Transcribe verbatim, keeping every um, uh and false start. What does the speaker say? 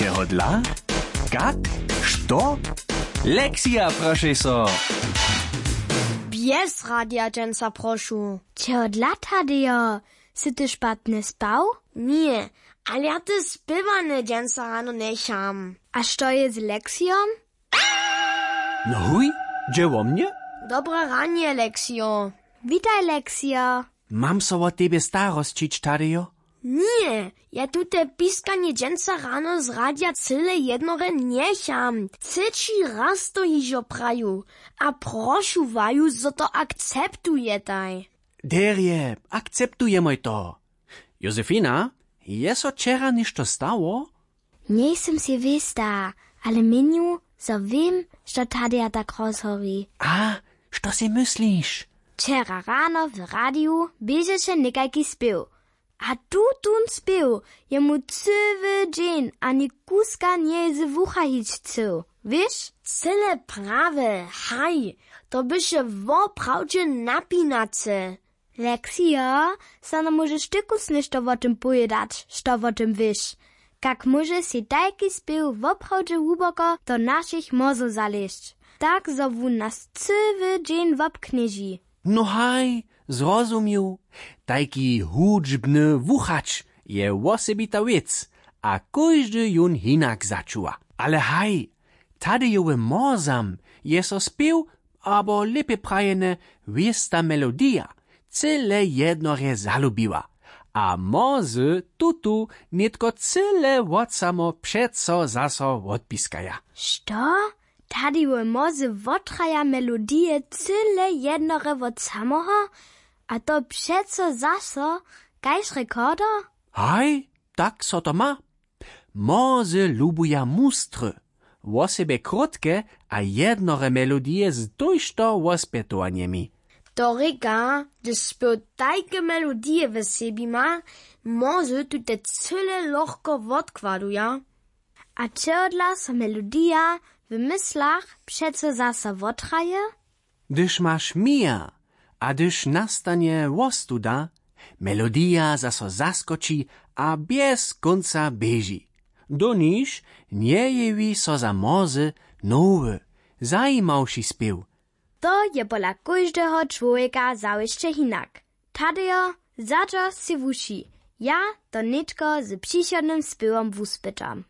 Čehodla? Kak? Što? Lexija, prošej so. Bjez radija dźensa, prošu. Čehodla, Tadejo? Sy ty špatnje spał? Ně, ale ja te spěwanje dźensa rano njecham. A što je z Lexijom? No huj, dźe wo mnje? Dobre ranje, Lexijo. Witaj, Lexijo. Mam so wo tebje starosćić, Tadejo? Ně, ja tute piskanje dźensa rano z radja cyle jednore njecham. Třeći raz to hižo praju. A prošu waju, zo to akceptujetaj. Derje, akceptujemoj to. Josefina, je so wčera něšto stało? Njejsym sej wěsta, ale měnju, zo wěm, što Tadeja tak rozhori. A što sej mysliš? Wčera rano w radiju běžeše někajki spěw. A tutón spěw je mu cyły dźeń ani kuska njeje z wucha hić chcył. Wěš? Cyle prawje, haj, to běše woprawdźe napinace. Lexijo, so nam móžeš tykus něšto wo tym powědać, što wo tym wěš? Kak móže sej tajki spěw woprawdźe hłuboko do našich mórzow zalězć, tak zo wón nas cyły dźeń wobknježi? No haj, zrozumił. Tajki hudźbny wuchać je wosebita wěc, a kóždy jón hinak začuwa. Ale haj, Tadejowym mórzam je so spěw, abo lěpje prajene, wěsta melodija, cyle jednorje zalubiła. A mórze tutu nětko cyle wot samo přeco zaso wotpiskaja. Što? Tadejowe mórze wotraja melodije cyle jednorje wot samoho? A to přeco zaso kaž rekorder? Haj, tak so to ma. Mórze lubuja mustry, wosebje krótke a jednorje melodije z tójšto wospjetowanjemi. To rěka, hdyž spěw tajke melodije w sebi ma, mórze tute cyle lochko wotkładuja. A čehodla so melodija w myslach přeco zaso wotraje? Hdyž maš měr a hdyž nastanje wostuda, melodija zaso zaskoči a bjez kónca běži. Doniž njejewi so za mórze nowy, zajimawši spěw. To je pola kóždeho čłowjeka zawěsće hinak. Tadejo, zadźo sej wuši, ja to nětko z přichodnym spěwom wuspytam.